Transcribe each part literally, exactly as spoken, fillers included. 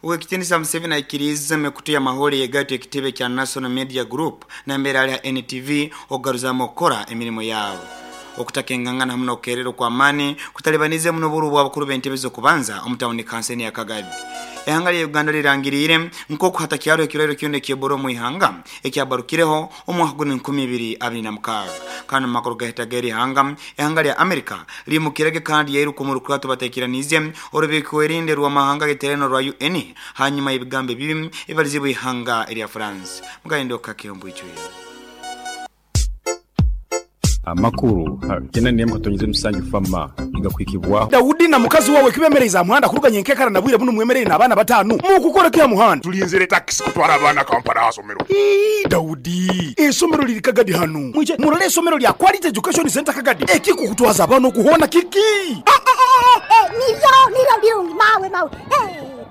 Owekitinisa Museveni aikiriize emikutu y'amahoro yegaito ekitebe kya National Media Group nambere ali ha N T V okugaruzamu okukora emirimo yabo. Okutakengangana hamu n'okukererwa kw'amaani kutalibanize muno oburu bw'abakuru b'entebe z'okubanza omu tawuni kanseni ya Kagadi. Ihanga lya Uganda lirangiriire nk'oku hatakyaro ekirwaire kyona eky'Ebola omu ihanga ekyabarukireho omwaka guno enkumi ibiri abiri na mukaaga. Kandi mu makuru gahitaga eri ihanga, ihanga lya Amerika limukirege kandi yairuka omu rukurato bateekiraniize orubiikwerinde rw'amahanga g'eterano rwa U N hanyuma y'ebigambo ebibi ebibalizibwa ihanga erya France. Mugaindo kakembwijwire. Amakuru kena nemu katonyize musanju fama igakwikibwa Daudi na mukazi wawe kibemereza muhanda kuruganya enkekara na bwire buno mwemerere n'abaana batanu mukukora kya muhanda tulinzere taxi kutwara abaana Kampala asomero. Ii Daudi esomero liri Kagadi hanu mwije murole esomero lya Quality Education Center Kagadi ekikukutwaza abana okuhona kiki nivyo nivyo birungi mawe mawe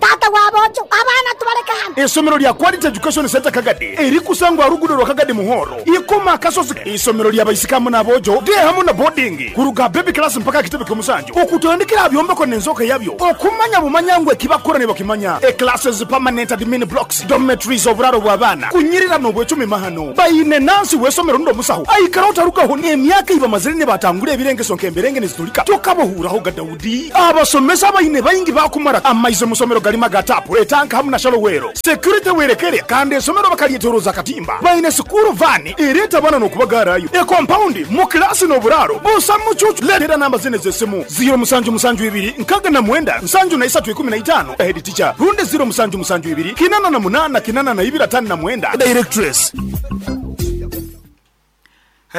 tata wabojo abana tubaleka hano. Esomero lya Quality Education Center Kagadi erikusangwa rugudo rwa Kagadi Muhoro ikoma kasozi. Isomero lya baisikamu n'abojo de hamu na boarding kuruga baby class mpaka kitebe ky'omusanju okutandikira byombeko n'enzoka yabyo okumanya bumanyangwe kibakora ne bakimanya e classes permanent admin blocks dormitories oburaro bw'abaana kunyirira n'obwecumi mahano bayine nansi wesomero ndo musaho aikara otarugaho n'emyaka iba mazire ne batangura ebirengeso nk'emberenge nizitulika tokabohuraho ga Daudi abasomesa bayine bayingi bakumara amaize musomero galima gatapu etanka hamu na shalowero security werekere kandi esomero bakalyeteroza katimba bayine sukuru vani ereta bana n'okubagarayo e compound mu klasi n'oburaro busa mucucu letera namba zine z'essimu zero musanju musanju ibiri nkaga na mwenda nsanju na isatu ikumi na itano head teacher runde zero musanju musanju ibiri kinana na munana kinana na ibiri atano na mwenda directress.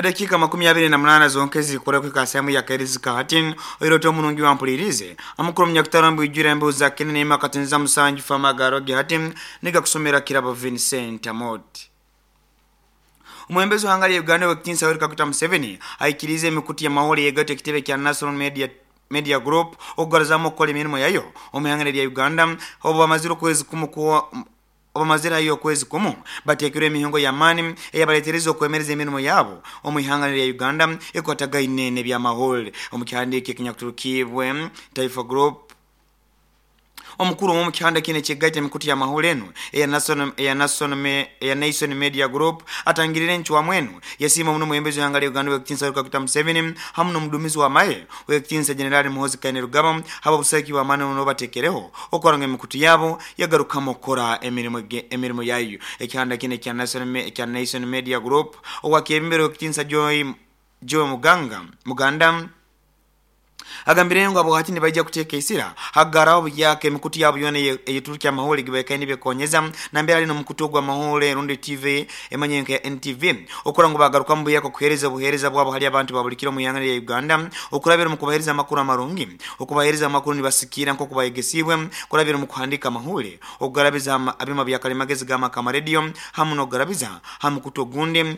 Dakika makumi abiri na munana zonkezi zikora kwika sehemu ya Kairizi Kahatin oiroto munungi wa mpulirize amukuru mnyakutarambu ijura embeho za Kenya nema katinza musanju fama garoge hatin niga kusomera kirabo Vincent Amoti. Omwembezi wa hanga ya Uganda wekitinsa Yoweri Kaguta Museveni aikirize emikutu ya mahoro yegato ekitebe kya National Media Media Group okugaruzamu okukora emirimo yayo omu ihanga lya Uganda obu bamazire okwezi kumu kuwa obamazira hiyo kwezi kumu batekirwe emihingo ya mani eyabaletereza okwemereza emirimo yabo omu ihanga lya Uganda ekwatagaine n'ebyamahoro omu kihandiiko ekinyakuturukibwe Taifa Group. Omukuru mu kihanda kine kigaita emikutu ya mahoro eno eya National eya National eya Nation Media Group atangirire nchwa mwenu yasima muno mwembezi wa hanga Uganda wekitinsa Yoweri Kaguta Museveni hamu n'omudumizi wa maye wekitinsa General Muhoozi Kainerugaba haba busaki wa mane ono batekereho okoranga emikutu yabo yagarukamo okora emirimo emirimo yayo. Ekihanda kine kya National kya Nation Media Group owakebembere wekitinsa Joy Joy Muganga Muganda agambire ngo abo hati nibaija kuteeka isira hagaraho yake emikutu yabo yona eyeturukya amahoro gibekaine byekonyeza nambere ali n'omukutu gwa mahoro rundi T V emanye ya N T V okora ngo bagaruka mu buyako kuhereza obuhereza bwabo hali abantu babulikira mu yanga ya Uganda okurabira mu kubahereza amakuru amarungi okubahereza amakuru nibasikira nko kubayegesibwe kurabira mu kuhandika amahoro okugarabiza abima bya kalimagezi gama kama radio hamu n'okugarabiza hamukutu ogundi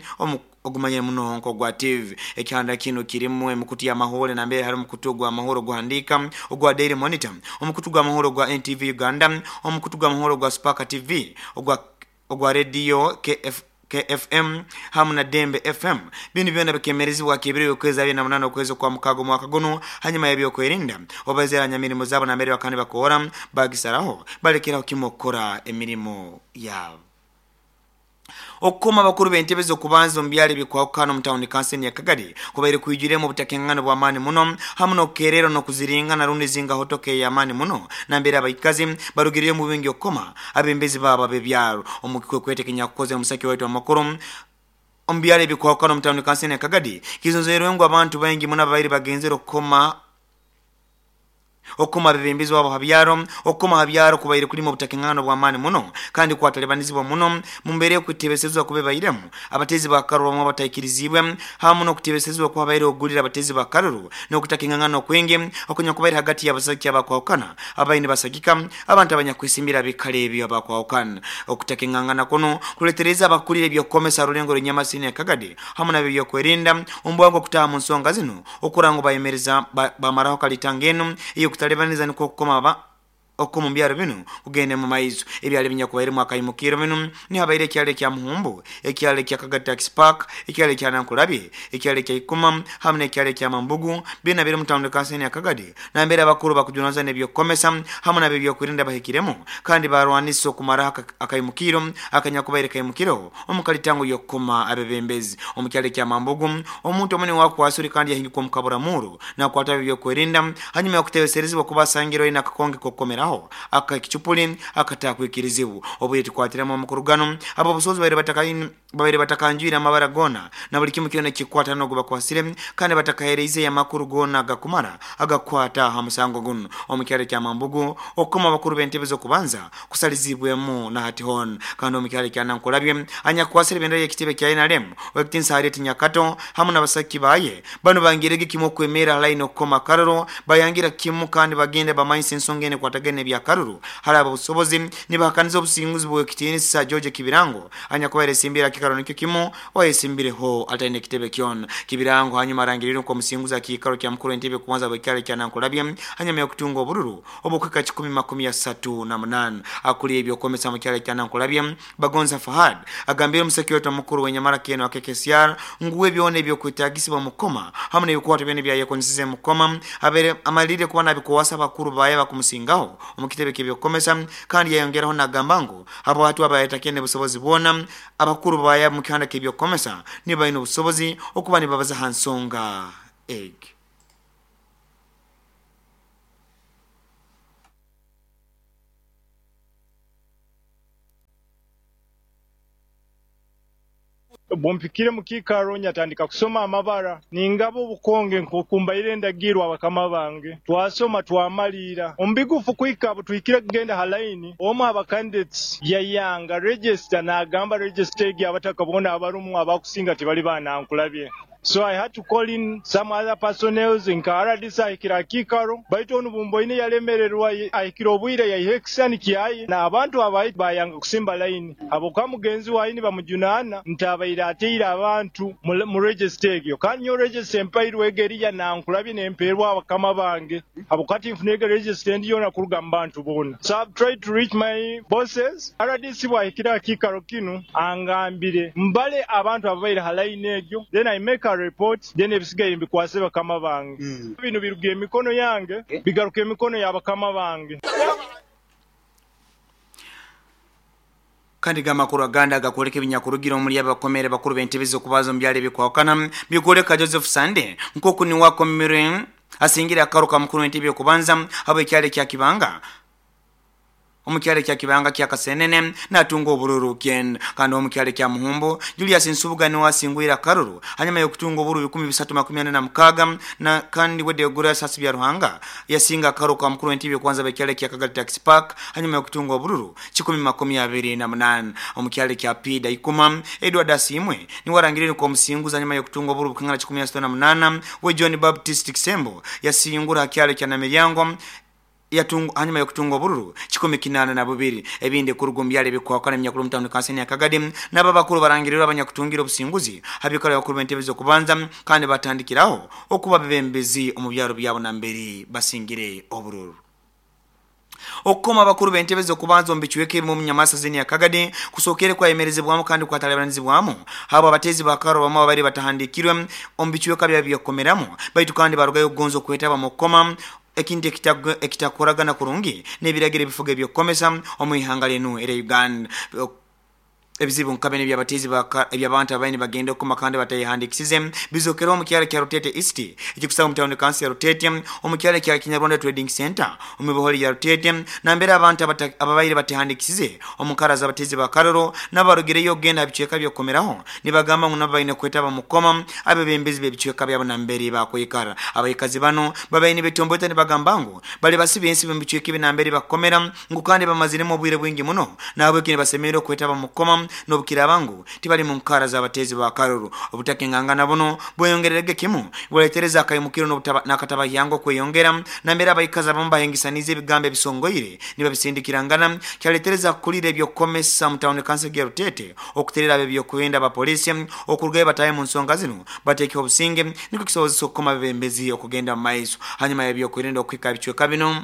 ogumanye muno nko gwa T V. Ekihanda kino kirimu emikutu ya mahoro nambere hari omukutu gwa mahoro guhandika ogwa Daily Monitor omukutu gwa mahoro gwa N T V Uganda omukutu gwa mahoro gwa Spark T V ogwa ogwa radio K F K F M hamu na Dembe F M. Bino byona bikemerezibwa kibiri okwezi abiri na munana okwezi kwa mukago mwaka guno hanyuma y'ebyokwerinda obazeranya mirimo zabo na mbere bakandi bakora bagisaraho balekeraho kimokora emirimo yabo. Okukoma abakuru b'entebe z'okubanza omu byalo ebikwawukana omu tawuni kanseni ya Kagadi kubaire kwijuremu obutakengano bw'amaani muno hamu n'okukerera n'okuziringana rundi zinga hotoka ey'amaani muno nambere abaikazi barugireyo mu bingi okukoma abembezi baabo ab'ebyalo omu kikwekwete kinyakukoze omusaki waitu amakuru omu byalo ebikwawukana omu tawuni kanseni ya Kagadi kizonzerwe ngu abantu baingi muno ababaire bagenzere okukoma okukoma abebembezi wabo habyaro okukoma habyaro kubaire kulima obutakengano bw'amaani muno kandi kwatalebanizibwa muno mu mbeera y'okutebesezwa kube bairemu abatezi ba karuru bamwe abataikirizibwe hamu n'okutebesezwa kwabaire ogulira abatezi ba karuru n'okutakengano okwingi okunya kubaire hagati y'abasajja abakwawukana abaine basagika abantu abanyakwesimbira bikale ebyo abakwawukana. Okutakengangana kuno kuletereza abakulira ebyokukomesa rulengo rw'enyamasini ya Kagadi hamu n'ebyokwerinda ombwangu okutaha mu nsonga zino okura ngu bayemereza bamaraho kalitanga eno iyo kutalebaniza niko kukoma ba Okumu byaro bino kugenda mu maiso ebyali binyakubairemu akayimukiro bino nihabaire ekyalo ekya Muhumbu, ekyalo ekya Kagadi Tax Park, ekyalo ekya Nankulabye, ekyalo ekya Ikuma hamwe n'ekyalo ekya Mambugu byona biri mu tawuni kansani ya Kagadi nambere abakuru bakujunaza n'ebyokukomesa hamwe n'ab'ebyokwerinda bahikiremu kandi barwanisa okumaraho akayimukiro akanyakubaire kayimukiro omukalitango y'okukoma abebembezi. Omu kyalo ekya Mambugu omuntu omwe niwakwasuri kandi yahingikwa omu kaburamuru nakwata ab'ebyokwerinda hanyuma y'okutebeserezibwa kuba asangirwe aine akakonge k'okukomeraho akakichupuli akatakwikirizibwa obwe tukwatiramo omukurugano abo busozi baire batakaini baire batakanjira amabara gona na buli kimu kyona kikwata no gubakwasire kandi batakahereize amakuru gona gakumara agakwata ha musango guno. Omukyalo kya Mambugu okoma bakuru b'entebe zo kubanza kusalizibwemu na hati hon kandi omukyalo kya Nankulabye anyakwasire bendera y'ekitebe kya N R M wekitinsa Harriet Nyakato hamwe n'abasaki baye bano bangirege kimu okwemera line okoma karoro bayangira kimu kandi bagende bamanyise ensonga ene kwatagene bya karuru hari abo busobozi nibahakaniza obusinguzi bw'ekitinisa George Kibirango anyakubaire simbira kikaro nikyo kimu wayesimbireho ataine kitebe kyona Kibirango hanyuma arangirire ko musinguza kikaro kya mukuru entebe kubanza bw'ekyalo kya Nankulabye hanyuma y'okutunga obururu obukweka kikumi makumi asatu na munana. Akuli ebyokomesa mu kyalo kya Nankulabye Bagonza Fahad agambire omusekyoto mukuru wenyamara keno K K C R nguwe byona ebyokwetagisibwa mukoma hamwe n'ebikwato byona ebyayekonisize mukoma abere amalire kuba nabikuwasa bakuru baye bakumusingaho omukitebe kebyokomesa kandi yayongeraho nagamba ngu abo batu abayetakene busobozi bwona abakuru baya mu kihanda kebyokomesa niba ino busobozi okuba nibabaza hansonga egg. Bompikire mukikaro nyatandika kusoma amabara ningabo obukonge nkokumbaire ndagirwa abakama bange twasoma twamalira ombigufu kwika butwikire kugenda halaini omu aba candidates yayanga register nagamba register egi abatakabona abarumu abakusinga tibali banankulabye. So I had to call in some other personnel nka R D C ahikira kikaro baitu onu bumboine yalemererwa ahikira obwire yahekisani kiaye na abantu abayi bayanga kusimba line abo kwa mugenzi waini bamujunana ntabaira ateira abantu mu register egyo kandi nyo register empairwe egeriya nankulabye nemperwa abakama bange abo kati nfunege register ndiyo nakuruga mu bantu bona. So I've tried to reach my bosses. R D C bwahikira kikaro kinu angambire mbale abantu ababaire halaini egyo then I make a report then ebisigaye mbikwase bakama bange. Mm. Bino biruga emikono yange bigaruka emikono y'abakama bange. Kandi gamakuru aganda agakoleka ebinyakurugira omuli abakomere bakuru b'entebe z'okubaza mu byalo ebikwawukana bikoleka Joseph Sande nkoku niwakomere asingira akaruka mukuru w'entebe okubanza abo ekyalo kya Kibanga omukyalo kya Kibanga kya Kasenene natunga obururu ken kandi omukyalo kya Muhumbu Julius Nsubuga niwe asingwira karuru hanyuma y'okutunga obururu bikumi bisatu makumi ane na mukaga na kandi wedde ogura sasi bya Ruhanga yasinga karuka mukuru w'entebe kwanza bekyalo kya Kagadi Tax Park hanyuma y'okutunga obururu kikumi makumi abiri na munana. Omukyalo kya Pida Ikuma Edward Asimwe niwe arangirire ko musinguza hanyuma y'okutunga obururu bukangana kikumi asatu na munana we John Baptist Kisembo yasingura kyalo kya Namiryango yatungu hanyuma yokutunga obururu kikumi kinana na bubiri ebindi kurugumbya bikwakana emyakuru mutano kanseni ya Kagadi naba bakuru barangirira abanyakutungira obusinguzi habikora bakuru b'entebe zo kubanza kandi batandikiraho okuba bebembezi omu byaro byabo namberi basingire obururu. Okukoma abakuru b'entebe zo kubanza omu bichweke mu Nyamasa zini ya Kagadi kusokere kwa emerezebwamu kandi kwatalabanizibwamu habo abatezi bakaro bamwe bari batahandikirwe omu bichweka bya byokomeramu baitu kandi barugayo kugonza kwetaba mukoma ekindi ekitakoragana kurungi n'ebiragiro ebifuga ebyokukomesa omu ihanga lenu era Uganda. Ebizibu nkabene by'abatezi eby'abantu abaine bagenda okukoma kandi batayihandikisize bizokera omu kyalo kya Rutete East ekikusanga mu tawuni kansi ya Rutete omu kyalo kya Kinyarwanda Trading Center omu biholi ya Rutete nambere abantu ababaire batahandikisize omu nkara z'abatezi ba Karoro n'abarugireyo okugenda bicweka by'okukomeraho nibagamba ngu nabo baine kwetaba mukoma abebembezi b'ebicweka byabo nambere bakwikara. Abaikazi bano babaine betombota nibagamba ngu bali basiba ensi mu bicweka ebi nambere bakukomera ngu kandi bamaziremu obwire bwingi muno nahabweki nibasemerera okwetaba mukoma n'obukirabangu tibali mu nkara z'abatezi ba Karoro. Obutakengangana buno bweyongererege kimu bwaletereza akayimukiro n'akataba yango kweyongera nambere abaikazi abamu bahengisaniza ebigambo ebisongoire nibabisindikirangana kyaletereza kulira ebyokukomesa mu tawuni kansi ya Rutete okuterera ab'ebyokwenda abapolisi okurugayo bataye mu nsonga zino bateeke obusinge nikwo kisobozesa okukoma abebembezi okugenda mu maiso hanyuma y'ebyokwerinda okuhika ebicweka bino.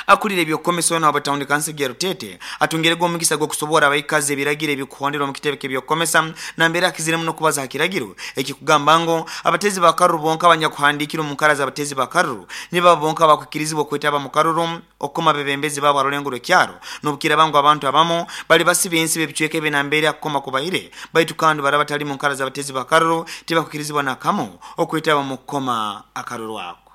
Akulira ebyokukomesa ono abatawundi kansi ya Rutete atungerega omukisa gw'okusobora abaikazi ebiragiro ebikuhonderwa mu kitebe ky'ebyokukomesa nambere akiziremu n'okubaza ha kiragiro ekikugamba ngo abatezi ba karuru bonka abanyakuhandikira omu nkara z'abatezi ba karuru nibo bonka abakwikirizibwa okwetaba mu karuru okukoma abebembezi baabo arulengo rw'ekyaro n'obukira bangu abantu abamu bali basiba ensi b'ebicweka ebi nambere akukoma kubaire baitu kandi baraba batali mu nkara z'abatezi ba karuru tibakwikirizibwa nakamu okwetaba mu kukoma akaruru ako.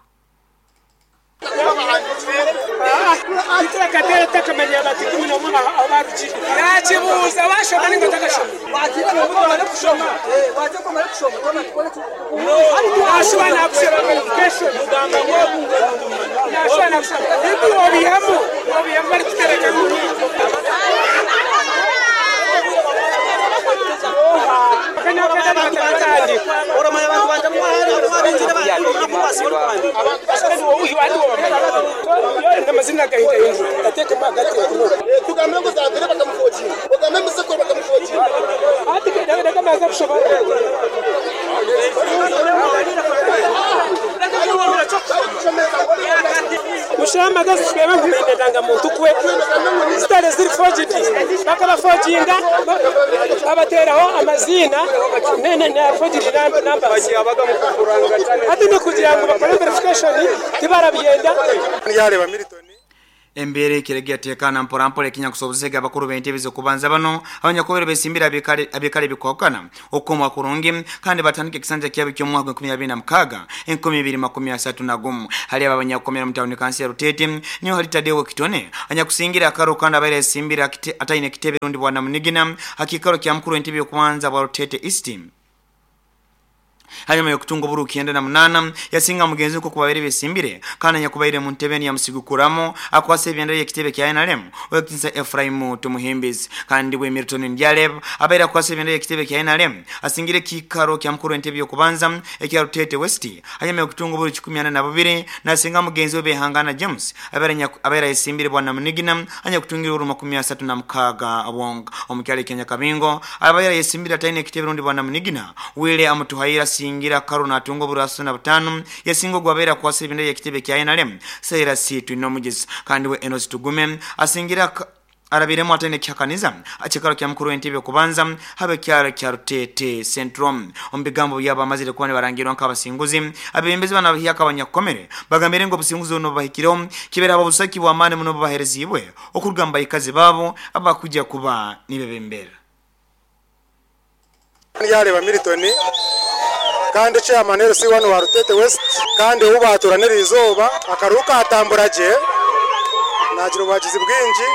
Embere kiregea tekana mpora mpora ekinya kusobozega abakuru b'entebe z'okubanza bano abanyakubere besimbira abikale abikale bikwakana okomwa kurungi kandi batandike ekisanja kyabo ky'omwaka enkumi abiri na mukaaga enkumi ibiri makumi asatu na gumu. Hali aba abanyakukomera mu tawuni kansi ya Rutete niyo hali Tadeo Kitone anyakusingira akaro kandi abaire esimbira ataine kitebe rundi bwana Munigina hakikaro kya mukuru w'entebe y'okubanza bwa Rutete East. Hanyuma yokutunga oburu kienda na munana yasinga mugenzi uko kubaire besimbire kana nyakubaire mu ntebe ya musigukuramo akwase ebyendera y'ekitebe kya N R M owekitinsa Ephraim Tumuhimbizi kandi we Milton Ndyaleb abaire akwase ebyendera y'ekitebe kya N R M asingire kikaro kya mukuru entebe y'okubanza ekya Rutete West. Hanyuma yokutunga oburu kikumi ana na bubiri nasinga mugenzi we Behangana James abaire abaire esimbire bwana Munigina anyakutungira oburu makumi asatu na mukaaga abonga omukyalo Kenya Kabingo abaire yesimbire ataine ekitebe rundi bwana Munigina wile amutuhaira singira karuna atungo buraso na butano yasingo gwabera kwasa ebinda y'ekitebe kya N R M Saira Situ nomugezi kandi we Enos Tugume asingira arabiremo atene kyakaniza akikaro kya mukuru w'entebe kubanza habe kyaro kya Rutete Centrum. Omubigambo byabo amazire kuba barangirwa nk'abasinguzi abebembezi bana bahyaka abanyakomere bagambire ngo obusinguzi buno bubahikireho kibera abo busaki bw'amaani muno bubaherezibwe okurugamba ikazi babo abakujja kuba nibebembera. Yareba Milton kandi chairman L C one wa Rutete West kandi ubaturanira izoba akaruka atambura je nagira ubagizi bwinji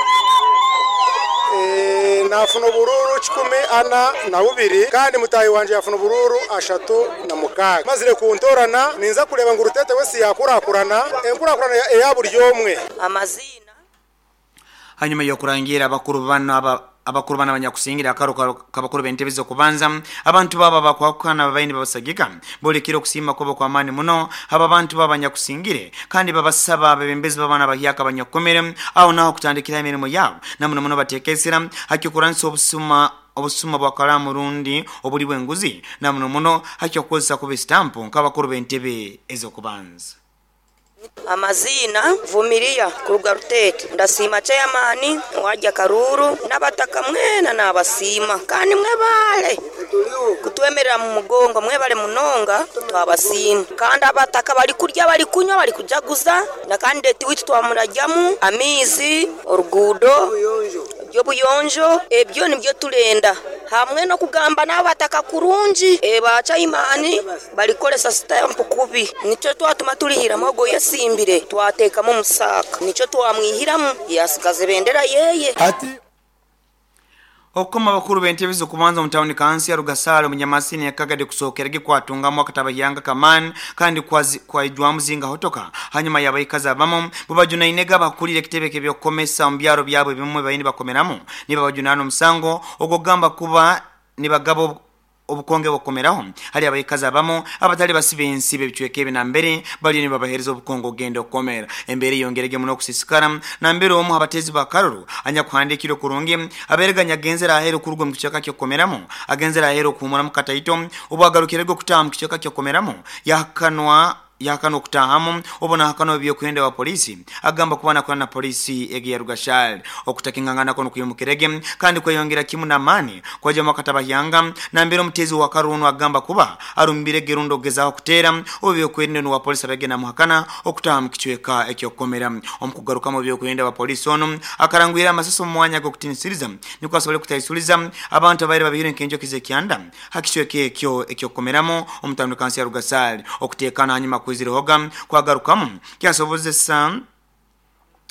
eh nafuna bururu kikumi ana na bubiri kandi mutayi wanje yafuna bururu ashatu na mukaga mazire kuntorana ninza kureba ngo Rutete West yakurakurana enkurakurana eya buri yomwe amazina. Hanyuma yo kurangira abakuru bano aba abakuru bana abanyakusingira akaro kabakuru b'entebe z'okubanza abantu baba bakwakana babaini babasagika bolekera okusima kwabo kwa amani muno aba bantu baba abanyakusingire kandi babasaba abebembezi babana bahyaka abanyakomere aho naho kutandikira emirimo yabo namuno muno batekesera hakikuransa obusuma obusuma bwa kalamu rundi obuli bw'enguzi namuno muno hakyokozesa kuba stampu nk'abakuru b'entebe ez'okubanza. Amazina Vumilia kuruga Rutete ndasima chairman wajja Karuru nabataka mwena nabasima kandi mwebale kutwemerera mu mugongo mwebale munonga twabasima kandi abataka bali kurya bali kunywa bali kujaguza na kandidate witu twamurajamu amizi orugudo byobuyonjo ebyo nibyo tulenda hamwe no kugamba n'abataka kurungi ebacha imani balikolesa stamp kubi nico twatuma tulihira mogo yasimbire twatekamo musaka nico twamwihiramu yasigaze bendera yeye ati okoma bakuru b'entebe z'okubanza mu tawuni kansi ya Rugasalo munyamasini yakagade kusokerege kwatungamu akatabayanga kamani kandi kwaijwamu zinga hotoka hanyuma yabayikaza abamo bubajuna inega bakulire ekitebe kebyokomesa mu byaro byabo bimwe bayini bakomeramu niba bajunano musango ogogamba kuba nibagabo obukonge bukomeraho hali abayikaza abamo abatali basibe ensibe bicweke na mbere bali nibabahereza obukongo ogenda okomera embere yongerege muno kusisikara na mbere omu abatezi bakaruru anya kuhandikiro kurungi abereganya genzera ahero kurugwa mu kichaka kyo komeramo agenzera ahero kumura mu kataito obwagarukirego kutamu kichaka kyo komeramo yakanwa yakano okutahamu obona hakano byokwenda wa polisi agamba kuba nakora na polisi egi ya Rugashali okutakingangana kono kuyumukirege kandi kweyongera kimu na mani kwa jama katabahyanga na mbere omutezi wa Karuno agamba kuba arumbire gerundo gezaho kutera obyokwenda wa polisi abagenda muhakana okutaha mu kichweka ekyokomera omukugaruka mu byokwenda wa polisi ono akarangwira amasaso mu mwanya gokutinisiriza niko asobole kutaisuliza abantu abaire babiri nkenjo kizekyanda hakichweka ekyo ekyokomeramo omutano kansi ya Rugasali okutekana hanyuma kuizirohoga kwagarukamu kyasobozesa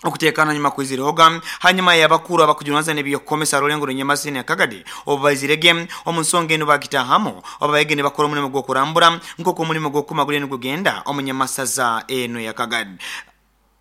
okutekana nyuma kuizirohoga hanyuma yabakuru abakujunaza nebyokomesa rulengo runyamasi ne Kagadi obaizirege omunsonge eno bagitahamo abayege ne bakora omulimo gwokurambura nkoko omulimo gwokumagulye nigugenda omunyamasaza eno ya Kagadi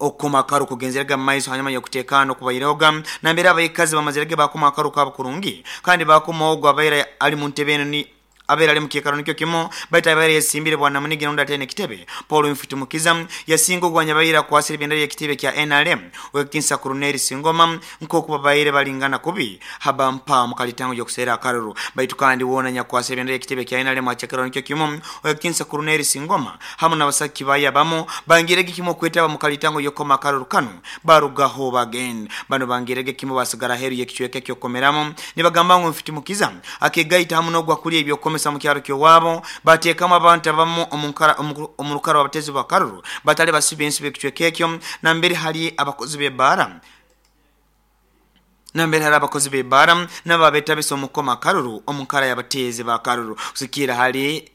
okoma karu kugenzeraga maiso hanyuma yokutekana okubairoga nambera abayikazi bamazirege bakoma akaru kabukurungi kandi bakoma ogwa abaira ali mu ntebe eno ni abera ali mukekaro nikyo kimo baita abera yesimbire bwana munigi nonda tene kitebe Paul Mfitumukiza yasingo gwanya bayira kwasira bendera ya kitebe kya N R M wekinsa Colonel Singoma nkoko babayire balingana kubi haba mpa mukalitango yokusera akaruru baitu kandi wona nyakwasira bendera ya kitebe kya N R M achekero nikyo kimo wekinsa Colonel Singoma hamu nabasaki bayabamo bangirege kimo kwetaba mukalitango yokoma akaruru kanu barugaho bagen bano bangirege kimo basigara heru yekichweke kyokomeramo nibagamba ngo Mfitumukiza akegaita hamu nogwa kuli ebyo mu kyaro kyowabo bateekamu abantu abamu omurukaro abatezi bakaruru batali basibe ensibe ekichweka ekyo nambere hali abakozi b'ebbaara nambere hali abakozi b'ebbaara n'ababetabisa omukoma karuru omunkara y'abatezi bakaruru kusikira hali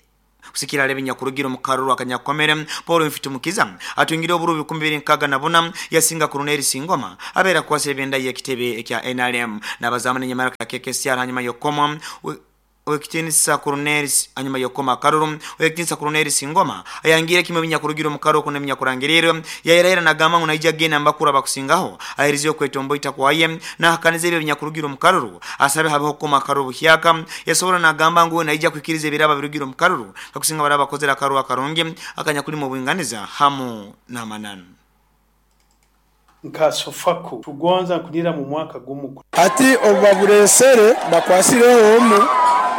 kusikira lebe nyakurugira omukaruru akanyakomere Paul Mfitumukiza atungire oburu bikumi bibiri nkaga na buna yasinga Colonel Singoma abera kwasira ebenda y'ekitebe ekya N R M n'abazamani nyamara ka K K C R hanyuma yokoma wekitinisa Colonel anyuma yokoma karuru wekitinisa Colonel Singoma ayangire kimwe binyakurugira omukaro kuna binyakurangiriro yairaira nagamba ngo naija gena mbakura bakusingaho aherizyo kwetombo itakwaye na hakanize ebyo binyakurugira omukaruru asabe habeho koma karuru buhyaka yasobora nagamba ngo naija kwikiriza ebiraba birugira omukaruru kakusinga baraba kozera karu akarungi akanyakuli mu bwinganiza hamu na mananu nka sofaku tugonza kunira mu mwaka gumu ati obaburesere bakwasireho omu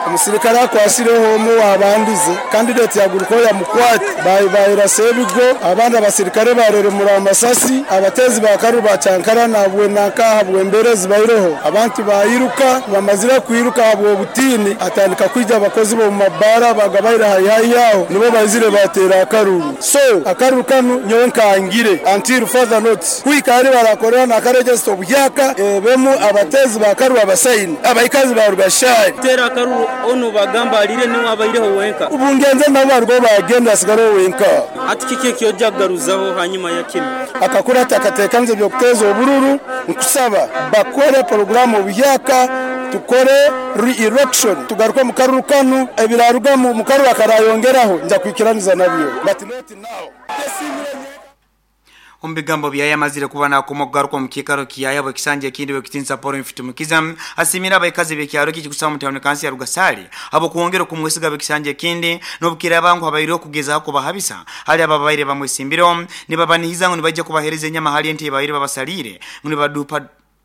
omusirikare akwasireho omu wabandize candidate yaguruko ya mukwati bayira sebigo abandi abasirikare bareremura amasasi abatezi bakaru bacankara nabwe nakaha bwemberezi bairoho abantu bayiruka bamazira kwiruka abo butini atandika kwija abakozi bo mabara bagabaira hayi yaho nibo bazire batera akaruru so akaruru kanu nyowe nkangire until further notice kwikari barakorera nakaregister obuhyaka ebemu abatezi bakaru abasaini abayikazi barugashari tera akaruru ono bagamba alire niwe abaireho wenka ubungenze nabo barwo bagenda sigaro wenka ati kike kyoja garuzaho hanyuma ya kino akakura atakatekanze byo kuteza obururu nkusaba bakore programu obuhyaka tukore re-election tugaruka mu karuru kanu ebiraruga mu karuru akarayongeraho nja kwikiraniza nabyo but not now. Ombigambo byaya mazire kuba nakomo kugaruka mu kikaro kiyaya bwekisanje ekindi bwekitinsa Paul Mfitumukiza asimira abayikazi bekyaro kikusaba mu town kansi ya Rugasali abo kuongera kumwesiga bekisanje ekindi nobukira abangu abayire okugezaho kubahabisa hali ababaire bamwesimbiro nibabanihiza ngo nibajja kubahereza enyama hali ente baire babasalire ngo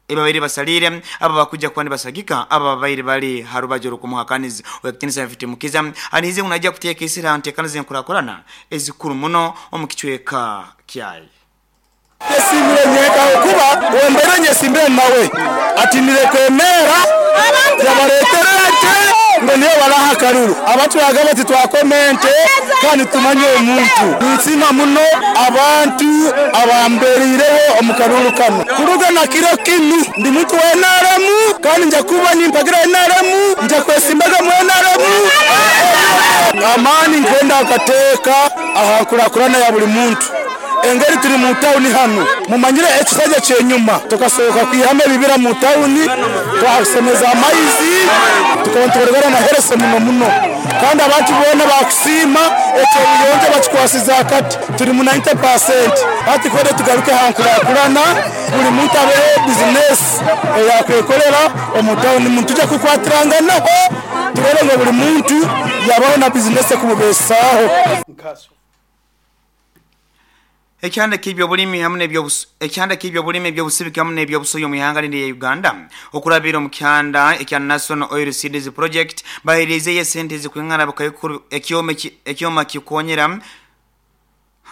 ebabaire basalire aba bakuja kwani basagika aba babaire bali harubajo kumuhakaniza wekitinsa Mfitumukiza anihize unajja kuteeka isira ntekanize nkurakorana ezikuru muno omukichweka kyayi Yesimire nyeka okuba wembere nyesimbire nawe atinire kwemera yabareterete ngo niyo baraha karuru abatwaga bati twakomente kandi tumanye omuntu nsima muno abantu abamberireho omukaruru kano kuruga na kiro kinu ndi muntu wa N R M kandi nja kuba nimpagira N R M nja kwesimbaga mu N R M amani nkwenda akateka ahakurakurana ya buli muntu engeri turi mu town hano mumanyire ekisajja kyenyuma tukasohoka kwihame bibira mu town twasemeza amaizi tukontorogana na herese muno muno kandi abantu bona bakusima ekyo buyonje bakikwasiza akati turi mu ninety percent ati kode tugaruke hankurakurana buli muntu abeho business eyakwekorera omu town muntu tujja kukwatiranganaho turebe ngo buli muntu yabaho na business kumubesaho. Ekyanda kibyo bulimi hamwe n'ebyo ekyanda kibyo bulimi ebyo busibika hamwe n'ebyo busoyo mu ihanga lindi ya Uganda okurabira mu kyanda ekya National Oil Seeds Project bahirize ye sente zikwingana bakayikuru ekyome ekyoma kikonyera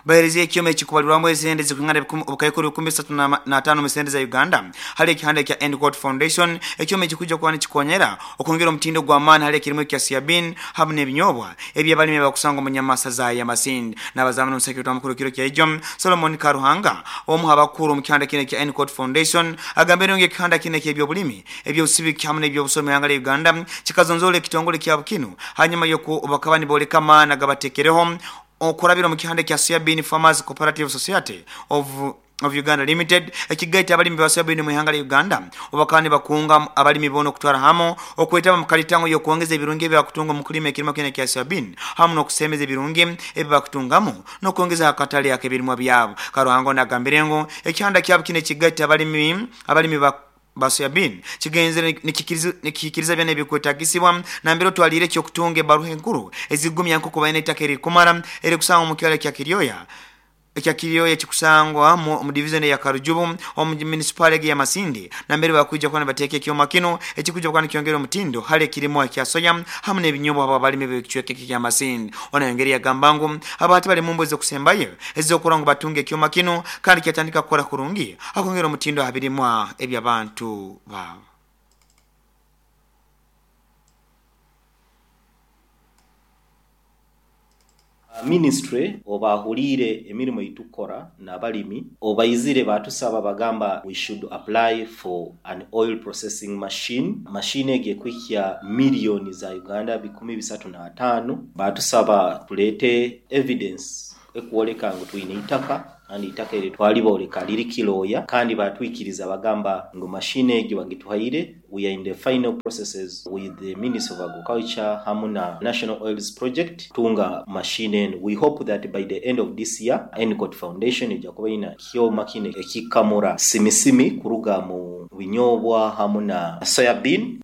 Baherezia ekyoma ekikubalirwamu esente zikwingana obukaikuru bikumi bisatu na tano mu sente za Uganda hali ekihanda kya Endicott Foundation. Ekyoma ekikuja kuba nikikonyera okwongera omutindo gw'amaani hali ekirimu ekya soybean hamu n'ebinyobwa ebyabalimi abakusanga omu nyamasa za Yamasindi. N'abazamu n'omusekretari mukuru kiro kya Ijom Solomon Karuhanga omu abakuru mu kihanda kino kya Endicott Foundation agambire ngu ekihanda kino eky'ebyobulimi eby'obusibiki hamu n'ebyobusomi hanga lya Uganda kikazonzola ekitongole kya Bukinu hanyuma y'oku bakaba nibooleka amaani agabateekereho okurabira mu kihanda kya Soybean Farmers Cooperative Society of of Uganda Limited ekigaita abalimi ba soybean mu ihanga lya Uganda obakani bakunga abalimi bono kutwara hamo okwetaba mu kalitango yokuongeza ebirungi ebyakutunga mu kulima ekirimo kene kya soybean hamu n'okusemeza ebirungi ebibakutungamu n'okuongeza akatale ak'ebirimwa byabo. Karuhango nagambire ngu ekihanda kyabo kino ekigaita abalimi abalimi ba basoyabin kigenzere nikikiriza byana ebikwetagisibwa nambero twalire kyo kutunga ebaruha enkuru ezigumya nko kubaina ettaka erikumara eri kusanga mu kyalo kya Kiryoya ekya Kiryoya kikusangwa mu division ya Karujubu omu municipality ya Masindi nambere bakuja kwa bateke ekyoma kino ekikuja kwa nikyongera omutindo hali ekirimo ekya soya hamu n'ebinyobwa abo abalimi b'ekichweke kya Masindi. Ona yongeri yagamba ngu abati bali mumbo ezokusembayo ezokora ngu batunge ekyoma kino kandi kyatandika kukora kurungi akongera omutindo abirimwa eby'abantu babo. Ministry obahulire emirimu itukora n'abalimi obayizire batusaba bagamba we should apply for an oil processing machine. Machine ege kwikya milioni za Uganda bikumi bisatu na atano. Batusaba tulete evidence ekuoleka ngu tuine itaka kandi itaka eri twaliboleka liri kiloya kandi batwikiriza bagamba ngu machine egi bagituhaire. We are in the final processes with the Ministry of Agriculture hamu na National Oils Project tunga machine and we hope that by the end of this year Endicott Foundation ejja kuba ina kyoma kine ekikamura simisimi kuruga mu binyobwa hamu na soybean.